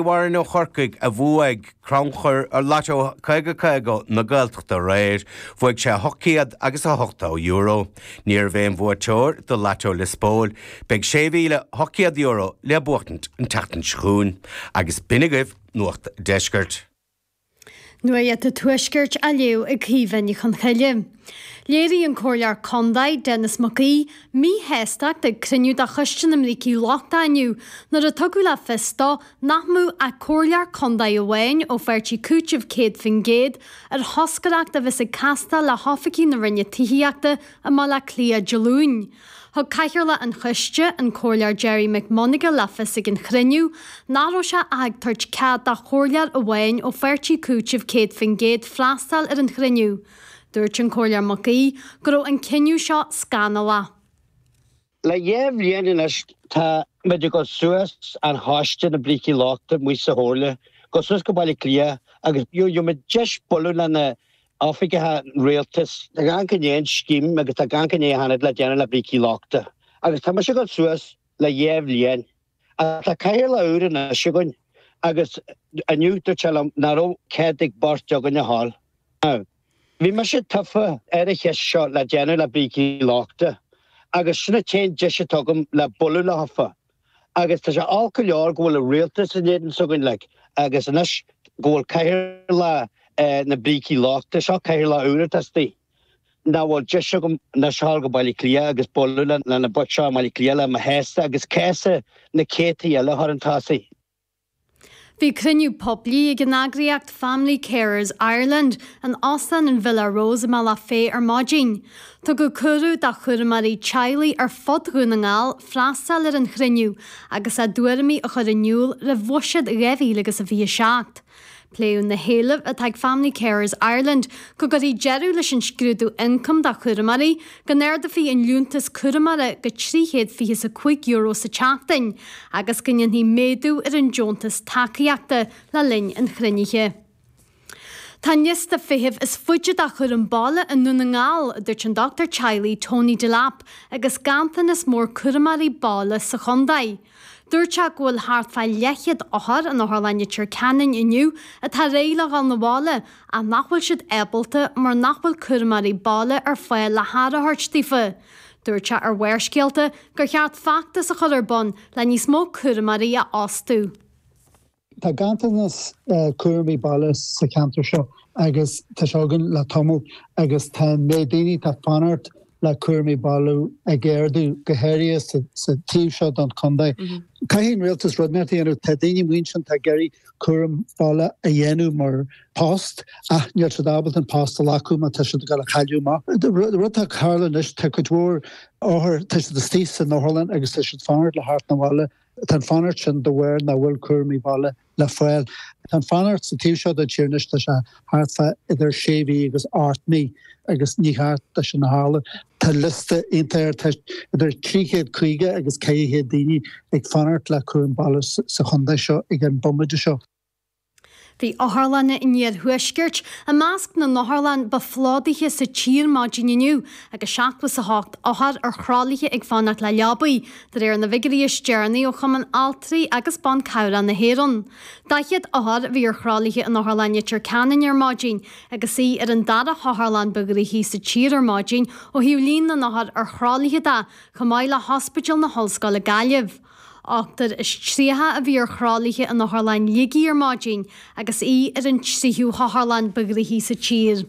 Warren ó Chorcaigh a bhuaigh crannchur Lotto 50 50 na Gaeltachta aréir. Bhuaigh sé €800 agus €80. Ní raibh aon bhuaiteoir do Lotto Lios Póil. Beidh €6,800 le buachtaint an tseachtain seo chugainn. Agus b'in agaibh Nuacht Deiscirt. Nuacht an Tuaiscirt á léamh ag Caoimhe Ní Chonchoille. Léirigh an Comhairleoir Contae, Denis Mac Aoidh, míshástacht ag cruinniú de Choiste na mBrící Lochta inniu nuair a tugadh le fios dó nach mbeadh ach Comhairleoir Contae amháin ó pháirtí Cúiteamh 100% ar thoscaireacht a bheas ag castáil le hoifigigh na Roinne Tithíochta i mBaile Átha Cliath Dé Luain. Thug Cathaoirleach an Choiste, an Comhairleoir Gerry McMonagle le fios ag an chruinniú nach raibh sé ach ag tabhairt cead do chomhairleoir amháin ó pháirtí Cúiteamh 100% freastal ar an chruinniú. Dúirt an Comhairleoir Mac Aoidh go raibh an cinneadh seo scannalach. Le dhá bhliain anois tá muid ag dul suas an choiste na brící lochta amuigh sa Chomhairle, dul suas go Baile Átha Cliath agus gheobhaidh muid deis bualadh le na oifigeacha rialtais. Tá gach i ndiaidh an scéim agus tá gach i ndiaidh a tháinig le déanamh le brící lochta. Agus tá mise ag dul suas le dhá bhliain. Ach tá cathaoirleach úr anois againn agus inniu dúirt sé liom nach raibh cead ag beirt againn a ghabháil. Now, bhí mise tofa ar an cheist seo le déanamh le brící lochta agus sin an t-aon deis atá agam le bualadh leofa. Agus tá sé olc go leor go bhfuil an rialtas in éadan s'againn like agus anois go bhfuil cathaoirleach na brící lochta, seo cathaoirleach úr atá istigh, nach bhfuil deis agam anois a ghabháil go Baile Átha Cliath agus bualadh le na boic seo i mBaile Átha Cliath le mo chás agus cás na céadtaí eile a chur chun tosaigh. Bhí cruinniú poiblí ag an eagraíocht Family Carers Ireland in Óstán an Villa Rose i mBealach Féich ar maidin. Tugadh cuireadh do chúramóirí teaghlaigh ar fud Dhún na nGall freastal ar an chruinniú agus a dtuairimí a chur in iúl roimh Bhuiséad 2027. Pléadh na héilimh atá ag Family Carers Ireland go gcuirfí deireadh leis an scrúdú ioncaim do chúramóirí, go n-ardófaí an liúntas cúramóra go €325 sa tseachtain agus go ndéanfaí méadú ar an deontas tacaíochta le linn an chruinnithe. Tá an liosta feithimh is faide do chúram baile i nDún na nGall, a dúirt an dochtúir teaghlaigh Tony Delap, agus ganntanas mór cúramóirí baile sa chontae. Dúirt sé go bhfuil thart fá leathchéad othar in Otharlann Leitir Ceanainn inniu atá réidh le dhul 'na bhaile ach nach bhfuil siad ábalta mar nach bhfuil cúramóirí baile ar fáil le haire a thabhairt daofa. Dúirt sé ar Bharrscéalta gur cheart feachtas a chur ar bun le níos mó cúramóirí a fhostú. Tá ganntanas cúramaí baile sa cheantar seo agus tá sé againn le tamall agus tá an méid daoine atá ag fanacht le cúramaí baile ag ardú, go háirithe sa taobh seo den chontae. Caithfidh an rialtas rud inteacht a dhéanamh. Tá daoine amuigh ansin atá ag iarraidh cúram baile a dhéanamh mar post ach níl siad ábalta an post a ghlacadh má tá siad ag dul a chailleadh amach. Rud atá ag tarlú anois, tá cuid mhór othar, tá siad istigh san otharlann agus tá siad ag fanacht le theacht 'na bhaile. Tá an fanacht sin de bharr nach bhfuil cúramaí baile le fáil. Tá an fanacht sa taobh seo den tír anois, tá sé thart fá idir sé mhí agus ocht mí agus ní cheart dó sin a tharlú. Tá liosta iontach ard, tá idir 350 agus 400 daoine ag fanacht le cúram baile sa chontae seo ag an bomaite seo. Bhí otharlanna an iarthuaiscirt i measc na n-otharlann ba phlódaithe sa tír maidin inniu agus 78 othar ar thralaithe ag fanacht le leabaí, de réir na bhfigiúirí is deireanaí ó Chumann Altraí agus Ban Cabhrach na hÉireann. 40 othar a bhí ar thralaithe in Otharlann Leitir Ceanainn ar maidin agus í ar an dara hotharlann ba ghnoithí sa tír ar maidin ó thaobh líon na n-othar ar thralaithe de, chomh maith le hOspidéal na hOllscoile Gaillimh. 38 a bhí ar thralaithe in Otharlann Shligigh ar maidin agus í ar an tríú hotharlann ba ghnoithí sa tír.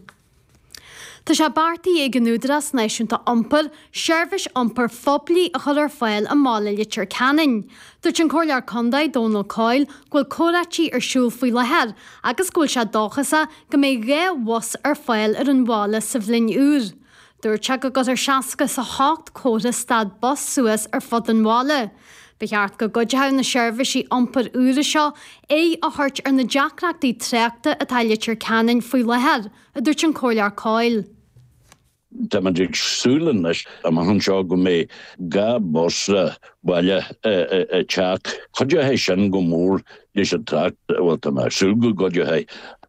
Tá sé beartaithe ag an Údarás Náisiúnta Iompair seirbhís iompair phoiblí a chur ar fáil i mbaile Leitir Ceanainn. Dúirt an Comhairleoir Contae Dónal Coyle go bhfuil comhráití ar siúl faoi láthair agus go bhfuil sé dóchasach go mbeidh 2 bhus ar fáil ar an bhaile sa bhliain úr. Dúirt sé go gcuirfear 68 comhartha stad bus suas ar fud an bhaile. Ba cheart go gcuideodh na seirbhísí iompair úra seo aghaidh a thabhairt ar na deacrachtaí tráchta atá i Leitir Ceanainn faoi láthair, a dúirt an Comhairleoir Coyle. Táimid ag súil anois amach anseo go mbeidh 2 bhus baile ag teacht. Cuideoidh sin go mór leis an trácht, bhuel tá mé ag súil go gcuideoidh.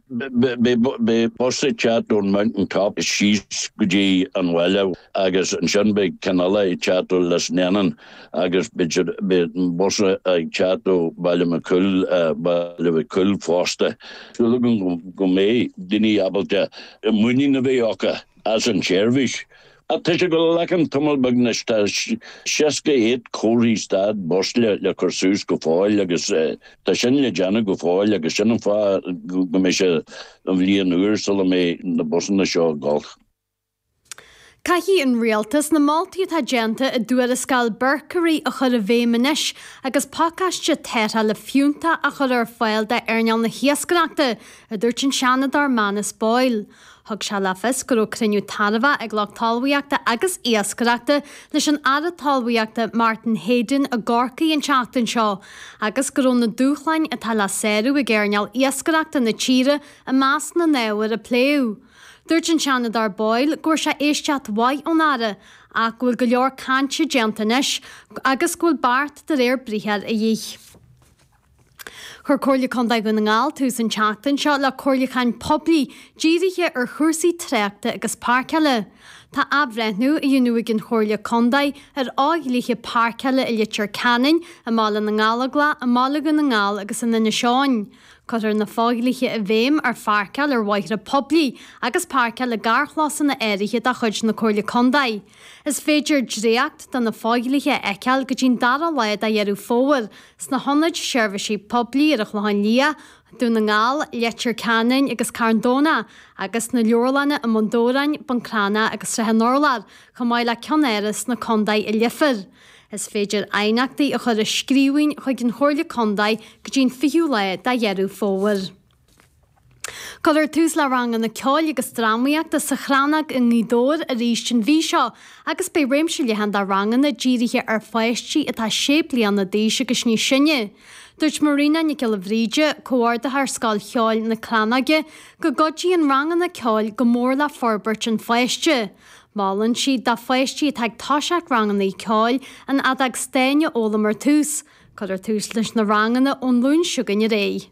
Beidh bus ag teacht ón Mountain Top síos go dtí an bhaile agus ansin beidh ceann eile ag teacht ó Lisnennan agus beidh an bus ag teacht ó Baile Mac Cumhaill, Baile Mhic Cumhaill fosta. Súil agam go mbeidh daoine ábalta muinín a bheith acu as an tseirbhís. Ach tá sé ag dul a ghlacann tamall beag anois, tá 68 comharthaí stad bus le cur suas go fóill agus tá sin le déanamh go fóill agus sin an fáth go mbeidh sé an bhliain úr sula mbeidh na busanna seo ag dul. Caithfidh an Rialtas na moltaí atá déanta i dtuarascáil Berkery a chur i bhfeidhm anois agus pacáiste tarrthála fiúntach a chur ar fáil d'earnáil na hiascaireachta, a dúirt an Seanadóir Manus Boyle. Thug sé le fios go raibh cruinniú tairbheach ag lucht talmhaíochta agus iascaireachta leis an Aire Talmhaíochta Martin Heydon i gCorcaigh an tseachtain seo agus go raibh na dúshláin atá le sárú ag earnáil iascaireachta na tíre i measc na n-ábhar a pléadh. Dúirt an Seanadóir Boyle go bhfuair sé éisteacht mhaith ón Aire ach go bhfuil go leor cainte déanta anois agus go bhfuil beart de réir briathair a dhíth. Chuir Comhairle Contae Dhún na nGall tús an tseachtain seo le comhairliúcháin poiblí dírithe ar chúrsaí tráchta agus páirceála. Tá athbhreithniú á dhéanamh ag an Chomhairle Contae ar fhodhlíthe páirceála i Leitir Ceanainn, i mBaile na nGallóglach, i mBaile Dhún na nGall agus in Inis Eoghain. Cuirfear na fodhlíthe i bhfeidhm ar pháirceáil ar bhóithre poiblí agus páirceáil i gcarrchlósanna áirithe de chuid na Comhairle Contae. Is féidir dréacht de na fodhlíthe a fheiceáil go dtí'n dara lá de Dheireadh Fómhair sna hIonaid Seirbhísí Poiblí ar an Chlochán Liath, Dún na nGall, Leitir Ceanainn agus Carn Domhnach, agus sna leabharlanna i mBun Dobhráin, Bun Cranncha agus Srath an Urláir, chomh maith le Ceann Áras sna Contae i Leifear. Is féidir aighneachtaí a chur i scríbhinn chuig an Chomhairle Contae go dtí'n 20ú lá de Dheireadh Fómhair. Cuirfear tús le ranganna ceoil agus drámaíochta sa Chrannóg i nGaoth Dobhair arís an mhí seo agus beidh réimse leathan de ranganna dírithe ar pháistí atá sé bliana d'aois agus níos sine. Dúirt Marina Nic Giolla Bhríde, Comhordaitheoir Scoil Cheoil na Crannóige, go gcuidíonn ranganna ceoil go mór le forbairt an pháiste. Molann sí do pháistí atá ag toiseacht ranganna ceoil an fheadóg stáin a fhoghlaim ar tús. Cuirfear tús leis na ranganna ón Luan seo chugainn ar aghaidh.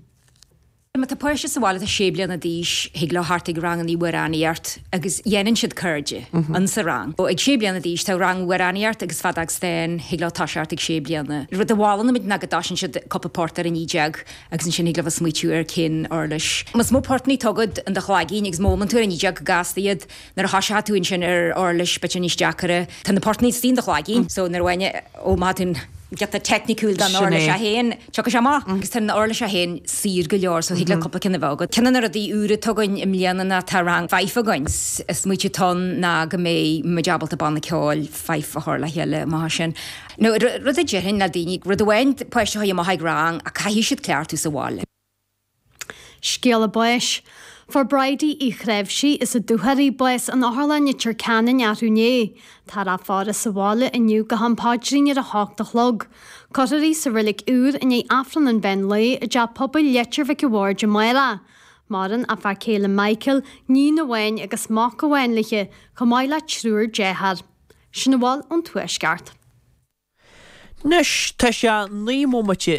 Má tá páiste sa bhaile atá sé bliana d'aois, thig leo theacht ag rangannaí amhránaíocht agus dhéanann siad cairde in sa rang. Ag sé bliana d'aois tá rang amhránaíocht agus feadóg stáin, thig leo toiseacht ag sé bliana. Rud a mholann muid ná go dtoisíonn siad cúpla port ar an E agus ansin thig leo bheith smaoitiú ar cén uirlis. Más mó portannaí atá agat in do chloigín agus má fhoghlaimíonn tú ar an E go gasta iad, Nuair a thoiseoidh tú ansin ar uirlis b'fhéidir níos deacaire, tá na portannaí istigh in do chloigeann so nuair a bhain ó má tá tú giota teicniciúil don Sin uirlis é. é féin, tiocfaidh sé amach. Agus tá an uirlis é féin saor go leor so thig leat cúpla ceann a bheith agat. Ceann de na rudaí úra atá againn i mbliana ná tá rang fife againn. Is smaoitiú atá ann ná go mbeidh muid ábalta banna ceoil fife a chur le chéile amach ansin. Nó rud a déarfainn le daoine, rud amháin páiste a chur amach ag rang ach caithfidh siad cleachtadh sa bhaile. Scéala báis. Fuair Bridie Uí Chreimhsí as an Dúchoraidh bás in Otharlann Leitir Ceanainn arú inné. Táthar á faire sa bhaile inniu go ham paidrín ar a hocht a chlog. Cuirfear í sa reilig úr i ndiaidh Aifreann an mheán lae i dTeach Pobail Leitir Mhic a' Bhaird amárach. Maireann a fear céile Michael, níon amháin agus mac amháin léi, chomh maith le triúr dearthár. Sin a bhfuil ón Tuaisceart. Anois, tá sé 29 bomaite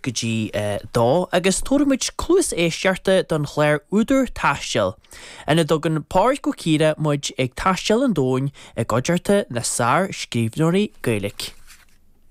go dtí a dó agus tabharfaimid cluas éisteachta don chlár Údar Taistil, ina dtugann Pádraig Ó Ciardha muid ag taisteal an domhain i gcuideachta na sár-scríbhneoirí Gaeilge.